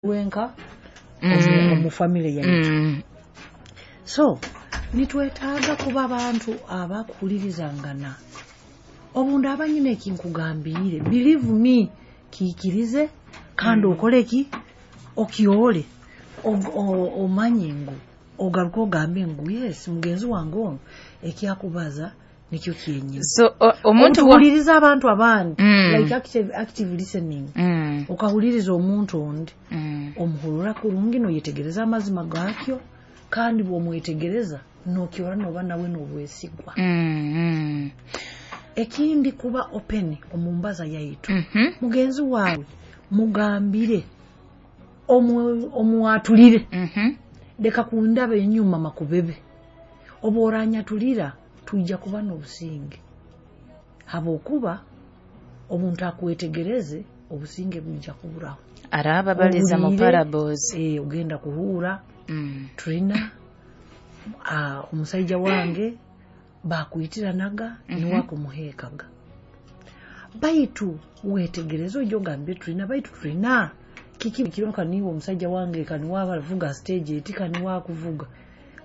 Wenka omu family yaitu. So nitwetaaga kuba abantu abakuhulirizangana. Obundi aba nyine ekinkugambiire, believe me, kiikirize kandi okole ki, okyole, omanye ngu ogaruke ogambe ngu yes, mugenzi wange ono ekyakubaza nikyo kyenyini. So omuntu Otuhuliriza abantu abandi, like active listening. Okahuliriza omuntu ondi, omuhurura kurungi, noyetegereza amazima gakyo, kandi bwomwetegereza nokyora noba nawe nobwesigwa. Ekindi, kuba open omu mbaza yaitu. Mugenzi wawe mugambire, omwatulire. Leka kundaba enyuma makubebe. Oba oranyatulira, twija kuba n'obusinge, habwokuba obuntu akwetegereze, obusinge bwija kuburaho. Araba baliza mu Ohuliire, parables. Ogenda kuhuura tulina omusaija wange bakwitiranaga, niwe akumuheekaga, baitu wetegereze, ojja ogambire tulina, baitu tulina kiki kironka niwe omusajja wange kaniwe abavuga stage eti, kaniwe akuvuga.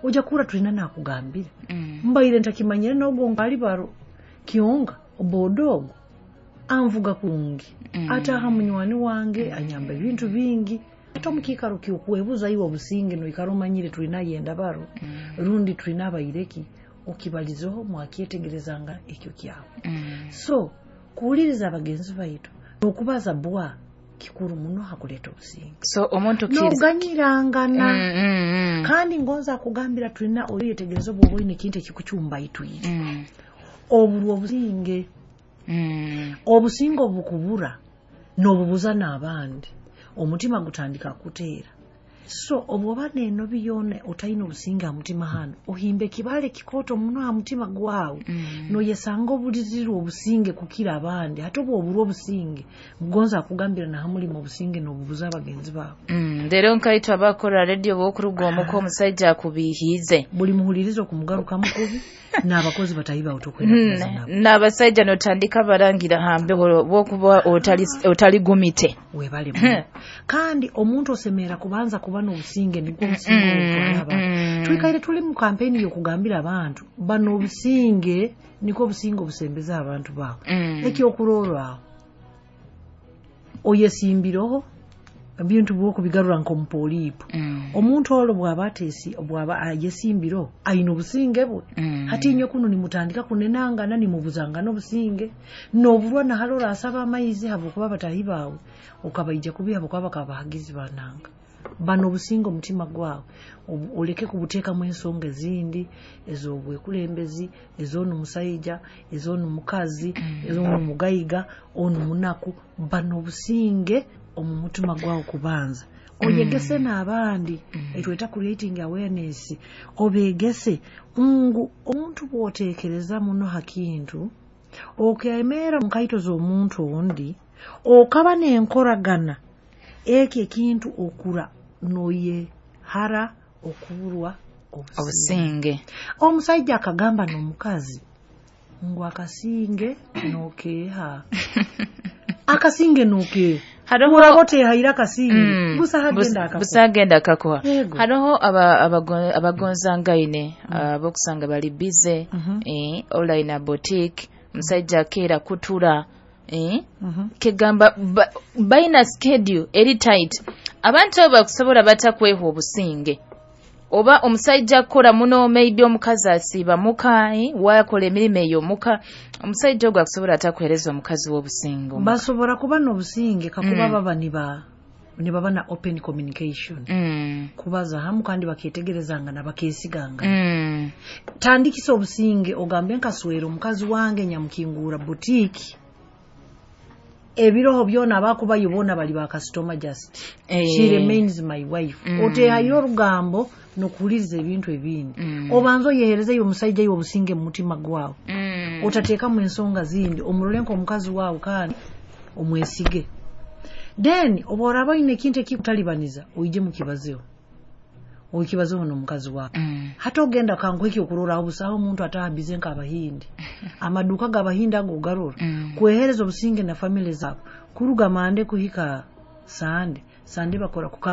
Ojja kuhura tulina nakugambira, mbaire ntakimanyire nogwo nkali baro kyonga oboda ogwo anvuga kurungi, ataha munywani wange anyamba ebintu bingi. Ate omukiikaro kyokwebuza iwe obusinge, noikara omanyire tulina yenda baro rundi tulina abaireki, okibalizeho, mwakyetegerezanga ekyo kyawe. So kuwuliriza abagenzi baitu n'okubaza bwa kikuru muno hakuleeta obusinge. So omuntu Noganyirangana. Kandi ngonza akugambira tulina oyetegereza, obwoba oine ekintu ekikucumbaitwire, oburwa obusinge. Obusinge obukubura n'obubuza n'abandi, omutima gutandika kuteera. So obwoba n'enobi yoona, otaine obusinge aha mutima hano, ohimba ekibaale kikooto muno aha mutima gwawe, noyesanga obulirirwe obusinge kukira abandi. Hati obu oburwa obusinge, ngonza akugambira naha mulimu obusinge n'obubuza abagenzi baawe. Rero nkaitwe abakora radio, bokuruga omuka omusaija akubihiize, buli muhuliriza okumugarukamu kubi, n'abakozi batahi bawe tokwenda kubaza nabo. N'abasaija notandika barangira hambeho bokuba otali gumite. Webale muno. Kandi omuntu osemerera kubanza kuba n'obusinge, nibwo obusinge obutwara abantu. Twikaire tuli mu kampeni y'okugambira abantu bano obusinge, niko obusinge obusembeza abantu baawe. Ekyokurorwaho, oyesimbireho ebintu bwokubigarura nk'omupoliipo. Omuntu olwo bw'aba atesi, bw'aba ayesimbireho, aine obusinge bwe. Hati inywe kuno nimutandika kunenangana, nimubuzangana obusinge, noburwa nahali orasaba amaizi habwokuba batahi baawe okabaija kubi, habwokuba bakaba bahagizi bananga. Bano obusinge omutima gwawe oleke kubuteekamu ensonga ezindi ez'obwekulembezi, ez'onu musaija, ez'onu mukazi, ez'onu mugaiga, onu munaku. Bano obusinge omu mutima gwawe kubanza oyegese n'abandi. Etweta creating awareness. Obegese ngu omuntu bw'oteekereza muno ha kintu, okemeera mu nkaito z'omuntu ondi, okaba n'enkoragana eki ekintu, okura noyehara okuburwa obusinge. Obusinge. Omusaija akagamba n'omukazi ngu akasinge nokeeha, akasinge nokeeha. Hariho Uraba otehaire akasinge, busa hagenda akakuha. Busa agenda akakuha. Yego. Hariho abagonzangaine abokusanga bali busy, online boutique, omusajja akeera kutura, kegamba baina schedule eri tight. Abantu abo bakusobola bata kweha obusinge? Oba omusajja akora muno, maybe omukazi asiiba muka, wakola emirimu eyo muka, omusajja ogwo akusobola atakuheereza omukazi w'obusinge omuka? Basobora kuba n'obusinge kakuba baba nibaba na open communication, kubaza hamu kandi baketegerezangana, bakesigangana. Tandikisa obusinge, ogambe nkaswera omukazi wange nyamukingura boutique, ebiroho byona abakubayo boona bali bakasitoma, just she remains my wife. Otehayo orugambo n'okuhuliriza ebintu ebindi. Obanza oyeherezeyo omusaija iwe obusinge mu mutima gwawe. Otateekamu ensonga zindi, omurole nk'omukazi waawe kandi omwesige. Then oba oraba oine ekintu ekikutalibaniza, oije mukibazeho, okibazeho n'omukazi waawe. Hati ogenda kanguha ekyokurorraho, busaho omuntu ataha bize nk'abahindi, amaduuka g'abahindi ago ogarora. Kwehereza obusinge na family zaabo kuruga Monday kuhika Sunday. Sunday bakora kuka